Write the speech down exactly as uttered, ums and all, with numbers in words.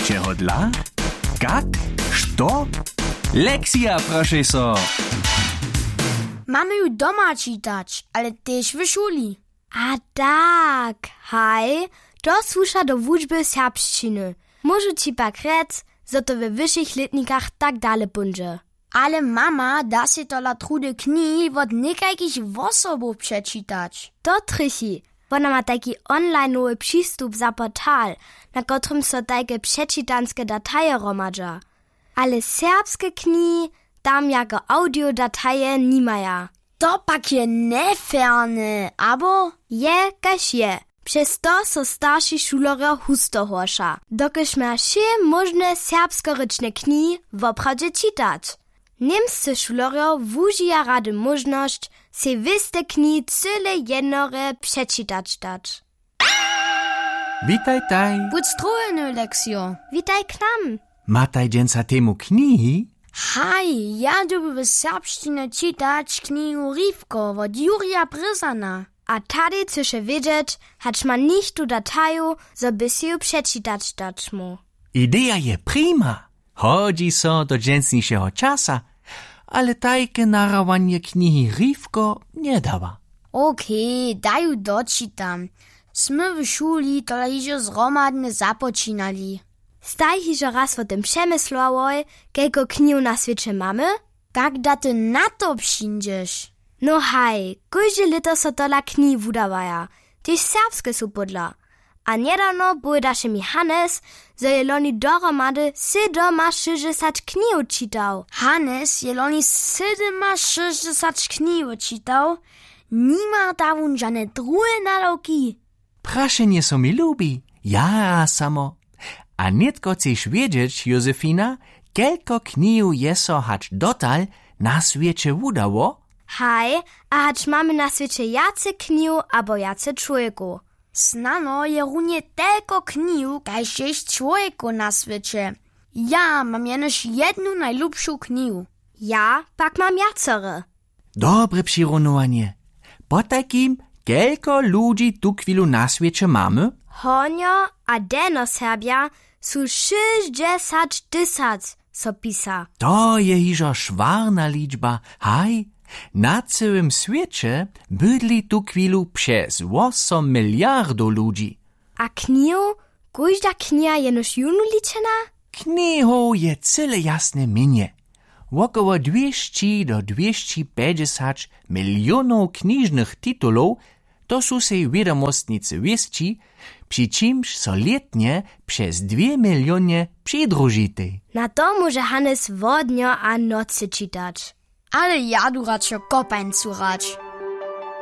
Kehodla? Kak? Što? Leksija, prošej so. Mamy ju doma čitać, ale tež w šuli. A tak, haj, to słuša do wučby serbšćiny. Móžu ći pak rjec, zo to we wyšich lětnikach tak dale póńdźe. Ale mama da sej tola trudy knihi wot někajkich wosobow přečitać. To trjechi. Wona ma tajki onlinowy přistup za portal, na kotrymž so tajke přečitanske dataje hromadźa. Ale serbske knihi tam jako audiodataje nimaja. To pak je njeferne, abo? Je, kaž je. Přez to so starši šulerjo husto horša, dokelž maja wšě móžne serbskorěčne knihi woprawdźe čitać. Němscy šulerjo wužija rady móžnosć, sej wěste knihi cyle jednorje přečitać dać. Witajtaj. Budź strowjeny, Leksio. Witaj k nam. Mataj dźensa temu knihi? Haj, ja dyrbju w serbšćinje čitać knihu Rifko wot Jurja Brězana. A tady chcyše wědźeć, hač ma nichtó dataju, zo by sej ju přečitać dać móhł. Ideja je prima. Hodźi so do dźensnišeho časa, ale tajke narahowanje knihi Rifko njedawa. Okej, da ju dočitam. Smy w šuli tola hižo zhromadnje započinali. Staj hižo raz wo tym přemyslowałoj, kelko knihow na swěće mamy? Kak da ty na to přińdźeš? No haj, kóžde lěto so tola knihi wudawaja, tež serbske su pódla. A njedawno powědaše mi Hannes, zo je loni dohromady sydomašěsćdźesat knihow čitał. Hannes je loni sydomašěsćdźesat knihow čitał. Nima da wón žane druhe nadawki? Prašenje so mi lubi, jara samo. A nětko chceš wědźeć, Józefina, kelko knihow je so hač dotal na swěće wudało? Haj, a hač mamy na swěće wjace knihow abo wjace čłowjekow? Snano je runje telko knihow kaž je čłowjekow na swěće. Ja mam jenož jednu najlubšu knihu. Ja pak mam wjacore. Dobre přirunowanje. Potajkim, kelko ludźi tuchwilu na swěće mamy? Hornjo a delnjoserbja su šěsćdźesat tysac, so pisa. To je hižo šwarna ličba. Haj, na cyłym swěće bydli tuchwilu přez wosom miliardow ludźi. A knihow? Kóžda kniha je jenož jónu ličena? Knihow je cyle jasne měnje. Wokoło dwěsći do dwěsći pjećdźesać milionow knižnych titulow, to su sej wědomostnicy wěsći, při čimž so lětnje přez dwě milionje přidružitej. Na to móže Hannes wodnjo a nocy čitać. Ale ja du radšo kopańcu hrać.